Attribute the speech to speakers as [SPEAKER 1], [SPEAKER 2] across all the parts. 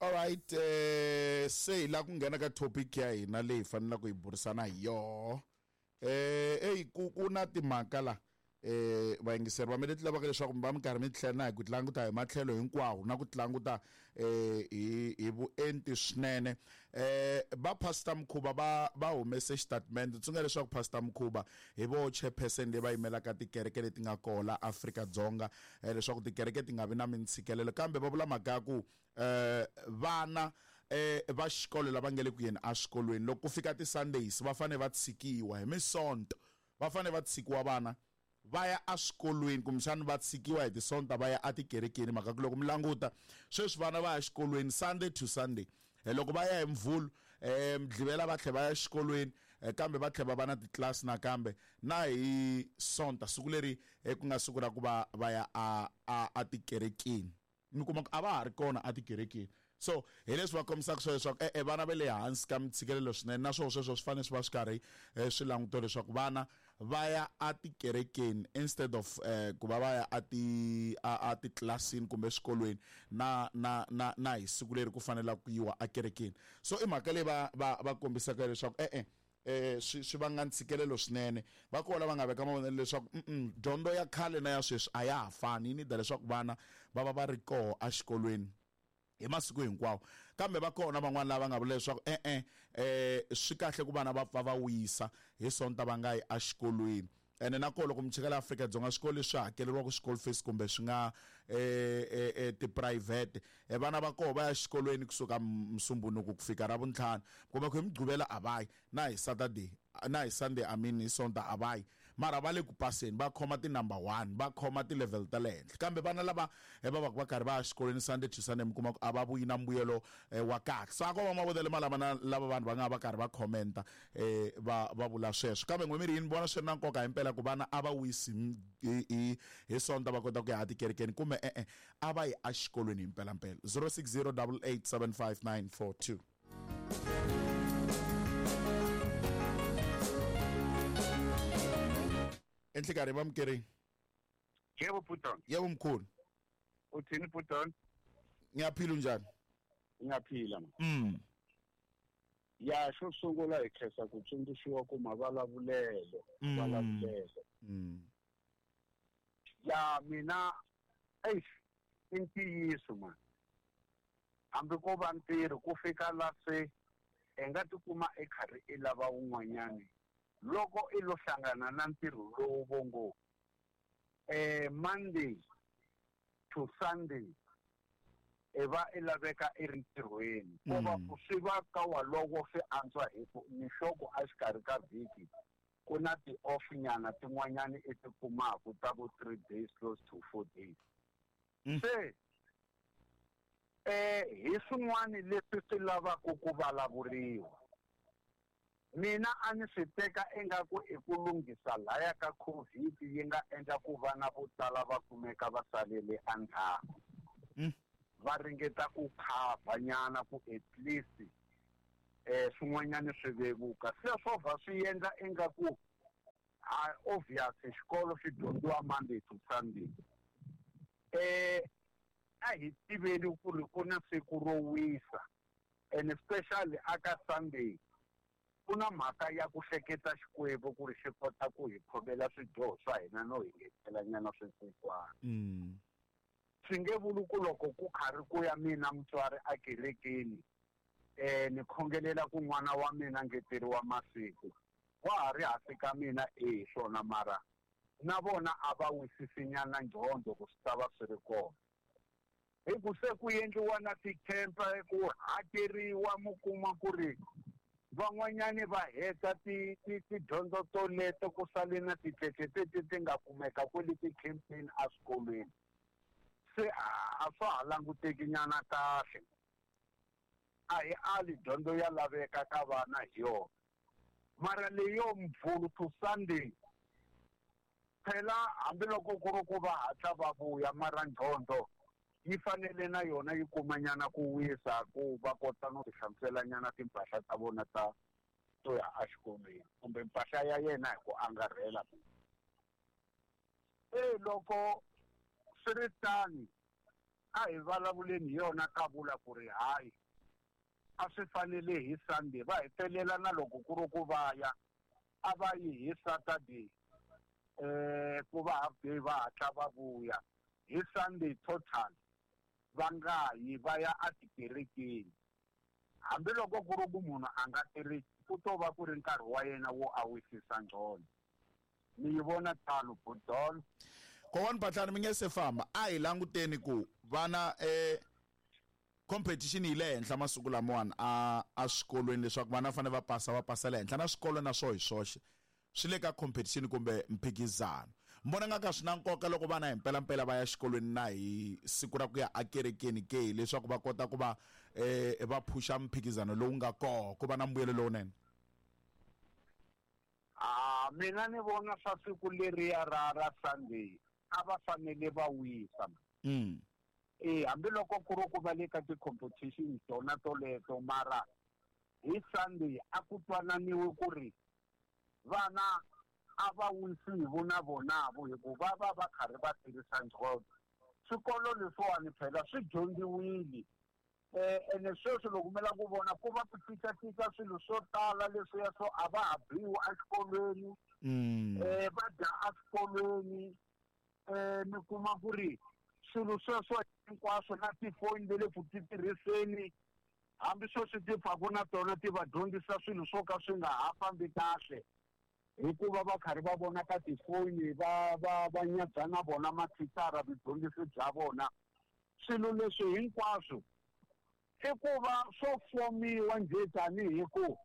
[SPEAKER 1] Alright, se hi la ku nghena ka topic ya hina leyi hi fanelaka hi burisana hi yoho. Eyi ku na timhaka la vayingiseri va mi leti lavaka leswaku mi va mi karhi mi tlhela na hi ku languta hi matlhelo hinkwawo na ku languta hi vuenti swinene. Va Pastor Mkhuba va humese xitatimende. Tsundzuka leswaku Pastor Mkhuba hi vo chairperson leyi va yimelaka tikereke leti nga koho la Afrika-Dzonga, leswaku tikereke ti nga vi na mintshikelelo, kambe va vula mhaka ya ku vana va xikolo lava nga le ku yeni eswikolweni loko ku fika ti-Sundays va fanele va tshikiwa hi misonto, va fanele va tshikiwa vana va ya eswikolweni, kumbexana va tshikiwa hi tisonta va ya etikerekeni. Mhaka ku loko mi languta sweswi vana va ya exikolweni Sunday to Sunday, loko va ya hi Mvhulu, Mugqivela va tlhela va ya exikolweni, kambe va tlhela va va na titlilasi nakambe na hi Sonta, siku leri ku nga siku ra ku va va ya a tikerekeni. Mi kuma ku a va ha ri kona etikerekeni. So hi leswi va kombisaka swona leswaku e-e vana va le hansi ka mintshikelelo swinene, naswona sweswo swi fanele swi va swi karhi swi langutiwa leswaku vana va ya etikerekeni instead of ku va va ya a ti a titlilasini kumbe eswikolweni na na na na hi siku leri ku fanelaka ku yiwa ekerekeni. So i mhaka leyi va kombisaka leswaku e-e swi vanga ntshikelelo swinene. Va kona lava nga veka mavonelo leswaku dyondzo ya khale na ya sweswi a ya ha fani, yi nida leswaku vana va va va ri koho exikolweni hi masiku hinkwawo. Kambe va kona van'wana lava nga vula leswaku e-e swi kahle ku vana va pfa va wisa hi Sonta va nga yi exikolweni. Ene na kona loko mi cheka la Afrika-Dzonga swikolo leswi hakeleriwaka school fees kumbe swi nga tiphurayivhete, vana va koho va ya exikolweni kusuka Musumbhunuku ku fika Ravuntlhanu, kumbe ku hi Mugqivela a va yi, na hi Saturday, na hi Sunday, I mean hi Sonta a va yi, mara va le ku paseni, va khoma ti-number 1, va khoma ti-level ta le henhla. Kambe vana lava va va va karhi va ya exikolweni Sunday to Sunday, mi kuma ku a va vuyi na mbuyelo wa kahle. So a ko va mavonelo malama na lava vanhu va nga va karhi va commenta va vula sweswo. Kambe n'we mi ri yini? Vona swi ri na nkoka himpela ku vana a va wisi hi Sonta va kota ku ya etikerekeni, kumbe e-e a va yi exikolweni hi mpelampela. 060 88 75 942. Enhlikarhi vamukeri.
[SPEAKER 2] Yebo Puton.
[SPEAKER 1] Yebo mkhulu.
[SPEAKER 2] Uthini Puton?
[SPEAKER 1] Ngiyaphila, unjani?
[SPEAKER 2] Ngiyaphila. Ya xo sungula hi khensa ku tsundzuxiwa ku mavulavulelo, mavulavulelo. Ya mina eish i ntiyiso man. Hambi ko va ntirho ku fika la se i nga tikuma i karhi i lava wun'wanyani loko i lo hlangana na ntirho lowu vo ngo Monday to Sunday i va i laveka i ri ntirhweni. Ko va ku swi va ka walowo swi antswa hi ku mixoko exikarhi ka vhiki ku na ti-off nyana tin'wanyani i ti kumaka ta vo 3 days close to 4 days. Se hi swin'wana leswi swi lavaka ku vulavuriwa. Mina a ni swi teka ingaku i ku lunghisa laya ka COVID yi nga endla ku vana vo tala va kumeka va salele endzhaku. Va ringeta ku cover nyana ku at least swin'wanyana swi vevuka. Se swo va swi endla ingaku obvious xikolo xi dyondziwa Monday to Sunday. A hi tiveli ku ri ku na siku ro wisa, and especially aka Sunday ku na mhaka ya ku hleketa Xikwembu ku ri xi kota ku hi khomela swidyoho swa hina no hi ngetela nyana swinsikwana. Swi nge vuli ku loko ku karhi ku ya mina mutswari ekerekeni ni khongelela ku n'wana wa mina ngeteriwa masiku, wa ha ri hansi ka mina e swona, mara na vona a va wisisi nyana ndyondzo ku swi ta va swi ri kona. Hi ku se ku endliwa na ti-camp ku hakeriwa, mi kuma ku ri van'wanyani va heta tidyondzo toleto ku sale na ticece teti ti nga kumeka kwale ti-campini eswikolweni. Se a swa ha languteki nyana kahle. A hi ali dyondzo ya laveka ka vana hi yona, mara leyo Mvhulu to Sunday phela hambiloko ku ri ku va hatla va vuya, mara ndyondzo yi fanele na yona yi kumanyana ku wisa ku va kota no ti hlamusela nyana timpahla ta vona ta to ya exikolweni kumbe mpahla ya yena hi ku angarhela. Loko swi ri tani A hi vulavuleni hi yona ka vula ku ri hayi a swi fanele hi Sunday va hetelela na loko ku ri ku va ya a va yi hi Saturday ku va half day va hatla va vuya hi Sunday total va nga yi va ya etikerekeni hambiloko ku ri ku munhu a nga tirhisi ku to va ku ri nkarhi wa yena wo a wisisa ngcono ni yi vona tano budolo.
[SPEAKER 1] Kokwani Phahlane mi nge se famba a hi languteni ku vana competition yi le henhla masiku lamawani a eswikolweni leswaku vana va fanele va pasa va pasela henhla na swikolo na swo hi swoxe swi le ka competition kumbe mphikizano. Mi vona nga ka swi na nkoka loko vana hi mpelampela va ya xikolweni na hi siku ra ku ya ekerekeni ke leswaku va kota ku va va phusha mphikizano lowu nga koho ku va na mbuyelo lowunene?
[SPEAKER 2] A mina ni vona swa siku leriya ra Sunday a va fanele va wisa. Hambiloko ku ri ku va le ka ti-competition tona toleto mara hi Sunday a ku twananiwe ku ri vana a va wisi hi vona vonavo hikuva va va karhi va tirhisa nqondo. Swikolo leswiwani phela swi dyondziwile ene sweswi loko mi lava ku vona ku va ku cincacinca swilo swo tala leswiya swo a va ha biwi exikolweni va dya exikolweni mi kuma ku ri swilo sweswo hinkwaswo na tifoni le ku ti tirhiseni hambi sweswi ti pfaku na tona ti va dyondzisa swilo swo ka swi nga ha fambi kahle hikuva va karhi va vona ka tifoni va va va nyadza na vona mathicara vudyondzisi bya vona. Swilo leswi hinkwaswo i ku va swo fomiwa njhe tanihi ku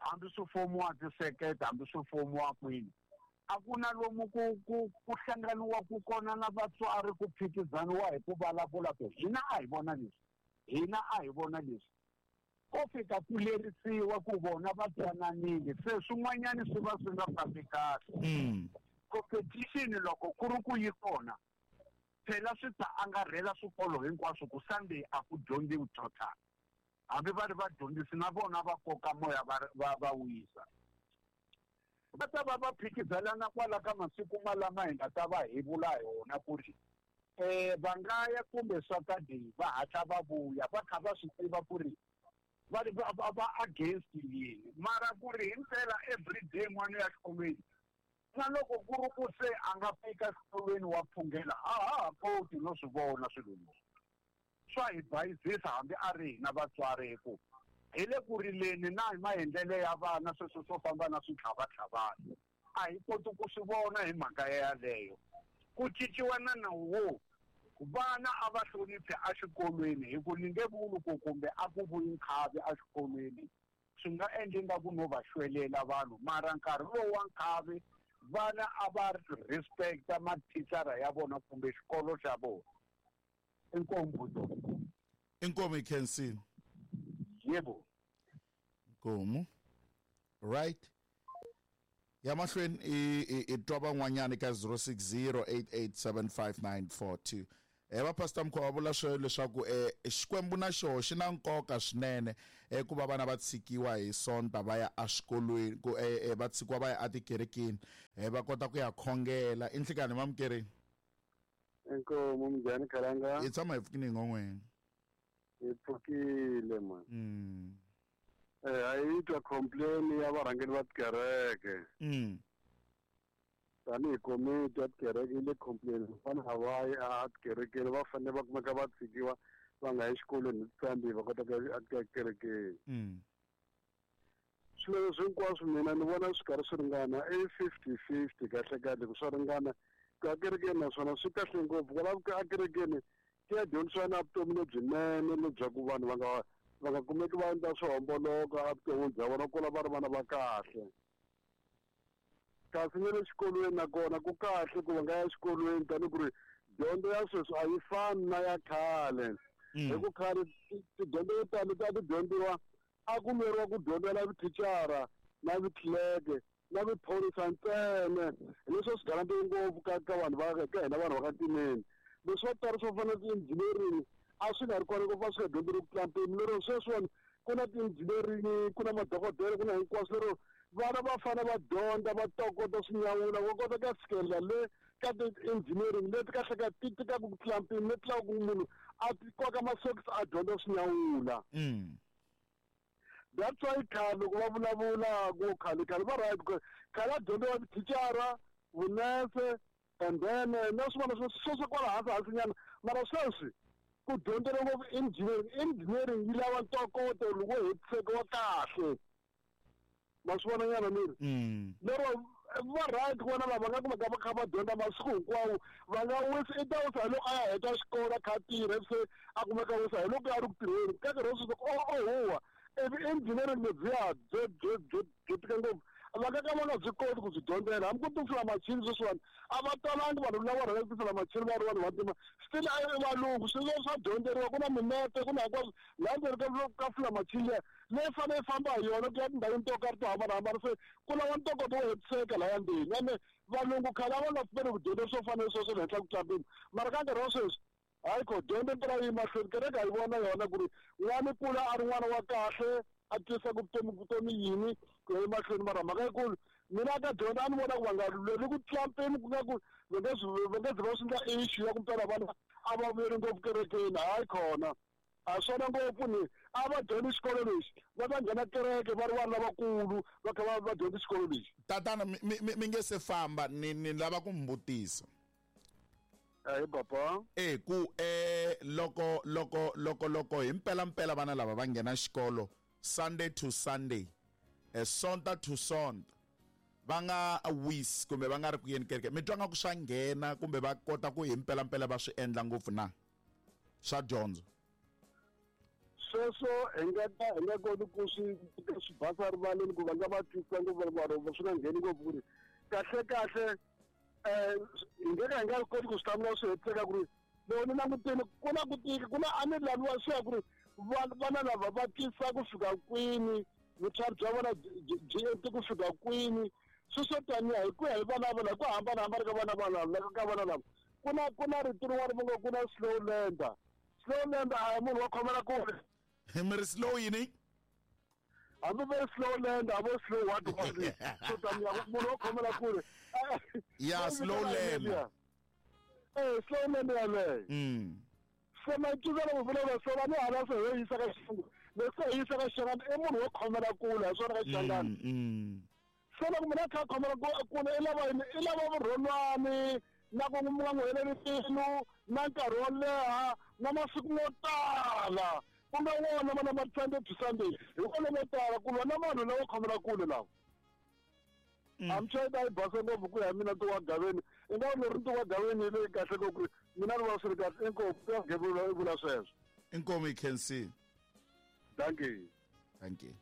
[SPEAKER 2] hambi swi fomiwa tisekete hambi swi fomiwa kwini a ku na lomu ku ku ku hlanganiwa ku kona na vatswari ku phikizaniwa hi ku vulavula ku hina a hi vona leswi hina a hi vona leswi ko fika ku lerisiwa ku vona va twananile se swin'wanyana swi va swi nga fambi kahle. Competition loko ku ri ku yi kona phela swi ta angarhela swikolo hinkwaswo ku Sunday a ku dyondziwi total hambi va ri vadyondzisi na vona va koka moya va wisa va ta va va phikizanana kwala ka masiku malama hi nga ta va hi vula hi wona ku ri va nga ya kumbe Saturday va hatla va vuya va kha va swi tiva ku ri va va against yini mara ku ri hi ndlela everyday n'wana ya xikolweni na loko ku ri ku se a nga fika xikolweni wa phungela a ha ha koti no swi vona swilo leswi swa hi bayizisa hambi a ri hina vatswari hi ku hi le ku rileni na hi maendlelo ya vana sweswo swo famba na switlhavatlhavana a hi koti ku swi vona hi mhaka yaleyo. Ku cinciwa na nawu wo vana a va hloniphi exikolweni hi ku ni nge vuli ku kumbe a ku vuyi nkhavi exikolweni swi nga endli nga ku no va xwelela vanhu mara nkarhi lowu wa nkhavi vana a va respecta mathicara ya vona kumbe xikolo xa vona. Inkomu.
[SPEAKER 1] Inkomu ikhensini.
[SPEAKER 2] Yebo.
[SPEAKER 1] Inkomu. Right. Ya mahlweni i twa van'wanyana ka 0608875942. Va Pastor Mkhwa va vula swo leswaku Xikwembu na xoho xi na nkoka swinene ku va vana va tshikiwa hi Sonta va ya exikolweni ku va tshikiwa va ya etikerekeni va kota ku ya khongela. I nhlikani mamukerini?
[SPEAKER 3] Inkomu minjhani Khalanga?
[SPEAKER 1] Hi tshama hi pfukile hi
[SPEAKER 3] Hi pfukile man. A yi twa complain ya varhangeri va tikereke. Tanihi komiti ya tikereke yi le complain vana a va yi a tikerekeni va fanele va kumeka va tshikiwa va nga yi xikolweni hi Sunday va kota ku ya ekerekeni. Swilo leswi hinkwaswo mina ni vona swi karhi swi ringana i 50-50 kahle kahle ku swa ringana ku ya kerekeni naswona swi kahle ngopfu kwala ku ya kerekeni ku ya dyondzisiwa na vutomi lebyinene lebyaku vanhu va nga kumeki va endla swo homboloka evuton'wini bya vona kula va ri vana va kahle. Kasi na le xikolweni nakona ku kahle ku va nga ya xikolweni tanihi ku ri dyondzo ya sweswi a yi fani na ya khale. Hi ku khale tidyondzo yo tala leti a ti dyondziwa a ku lweriwa ku dyondzela vithicara na vitlilerike na viphorisa ntsena leswi swi garantiwe ngopfu ka ka vanhu va ka hina vanhu va ka timeni. Leswi swo tala swo fana na ti-engineering a swi nga ri kona ngopfu a swi nga dyondzeriwi ku tlula mpimo lero sweswiwani ku na ti-engineering ku na madokodela ku na hinkwaswo lero vana va fanele va dyondza va tokota swinyawula va kota ku ya fikelela le ka ti-engineering leti kahle ka ti tikaka ku tlula mpimo leti lavaka ku munhu a koka masokisi a dyondza swinyawula. That's why khale loko va vulavula ku khale khale va right, khale a dyondziwa thicara, vunese, and then na swin'wana sweswo kwala hansi hansinyana. Mara sweswi ku dyondzela ngopfu engineering. Engineering yi lava ntokoto loko hetiseka wa kahle, ma swi vona nyana miri. Lero va right ku vona lava nga kumeka va kha va dyondza masiku hinkwawo, va nga wisi. I ta wisa hi loko a ya heta xikolo, a kha a tirha, se a kumeka wisa hi loko a ri ku tirheni ka nkarhi wa sweswi o huwa. Ivi engineering lebyiya byo byo byo byo tika ngopfu, va nga ka va nga byi koti ku byi dyondzela hambi ku tifula machini. Sweswiwani a va talangi vanhu lava rhandzaka ku tifula machini va ri vanhu vantima, still a i valungu. Swilo swa dyondzeriwa, ku na mimete, ku na hinkwaswo laha ndzeni ka fula machini liya leyi fanele yi famba hi yona ku ya tindhawini to karhi to hambanahambana. Se ku lava ntokoto wo hetiseka lahaya ndzeni, ene valungu khale a va nga pfumeli ku dyondza swo fana sweswo le henhla ku tlambini. Mara ka nkarhi wa sweswi, hayi ko dyondzo mpela yi mahlweni. Kereke a yi vona yona ku ri n'wana kula a ri n'wana wa kahle, a twisisa ku vutomi vutomi yini ku ya emahlweni. Mara mhaka yikulu, mina ka dyondza a ni vona ku va nga lweli ku tlula mpimo, ku nga ku va nge zi va swi endla issue ya ku mpela vana a va vuyeli ngopfu kerekeni. Hayi khona, a swona ngopfu ni a va dyondzi xikolo lexi, va ta nghena kereke va ri vanhu lavakulu, va kha va dyondza xikolo lexi.
[SPEAKER 1] Tatana, mi nge se famba, ni lava ku mi vutisa.
[SPEAKER 3] Ahi papa.
[SPEAKER 1] E ku loko hi mpela mpela vana lava va nghena xikolo Sunday to Sunday, Sonta to Sonta, va nga wisi kumbe va nga ri ku yeni kereke, mi twa nga ku swa nghena kumbe va kota ku hi mpela mpela va swi endla ngopfu na swa dyondzo?
[SPEAKER 3] Sweswo hi nga ka hi nga koti ku swi basa rivaleni ku va nga va twisisa ngopfu, vanhu swi nga ngheni ngopfu ku ri kahle kahle. Hi nge ka hi nga koti ku swi hlamula swi hetiseka ku ri loko ni langutile ku na ku tika, ku na a ni laviwa swi ya ku ri vana lava va twisisa ku fika kwini, vutlhari bya vona byi ente ku fika kwini. Sweswo taniya hi ku ya hi vana vona hi ku hambanahambana ka vana vana ka vana lava, ku na rito rin'wana va ngo ku na slow learner. Slow learner a hi munhu wa khomela kule.
[SPEAKER 1] Mi ri slow yini?
[SPEAKER 3] Hambi va ri slow learner, vo slow what what, so taniya munhu wa khomela kule.
[SPEAKER 1] Ya, slow learner.
[SPEAKER 3] Slow learner yaleyo. Se macinelo ku vulavula so va ni hala se hi yisa ka xilungu, leswi hi yisa ka Xichangani, i munhu wo khomela kule hi swona ka Xichangani. Se loko munhu a kha a khomela kule, i lava yini? I lava vurhonwani na ku nga n'wi heleli mbilu na nkarhi wo leha na masiku mo tala, ku nga wona mana ma Sunday to Sunday, hi kona mo tala ku lwa na vanhu lava khomela kule lava. Amchayita yi basa ngopfu ku ya hi mina ntiwa gaveni, i nga leri ntiwa gaveni leyi kahle ngopfu ku ri mina ni vona swi ri kahle. Inkomu, ntiwa gaveni i vula sweswo.
[SPEAKER 1] Inkomu, yi khensile.
[SPEAKER 3] Thank you.
[SPEAKER 1] Thank you.